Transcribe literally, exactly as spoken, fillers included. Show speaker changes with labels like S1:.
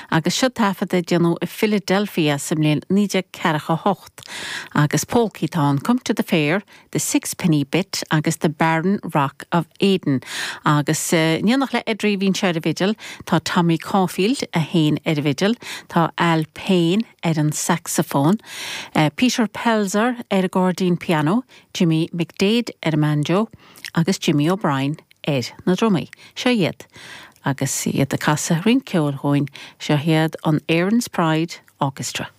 S1: Agus seo taifead a déanadh i Philadelphia sa mbliain naoi déag ceathracha hocht. Agus polcaí atá ann Come to the Fair, The Sixpenny Bit agus The Barren Rock of Aden. Agus in éineacht le Edry bhí ar an bhfidil, tá Tommy Caulfield a sheinn ar an bhfidil, tá Al Payne ar an saxophone, uh, Peter Pelzer ar an gcairdín piano, Jimmy McDade ar an banjo agus Jimmy O'Brien ar na drumaí. Seo iad agus iad ag casadh roinnt ceoil dúinn seo iad an Erin's Pride Orchestra.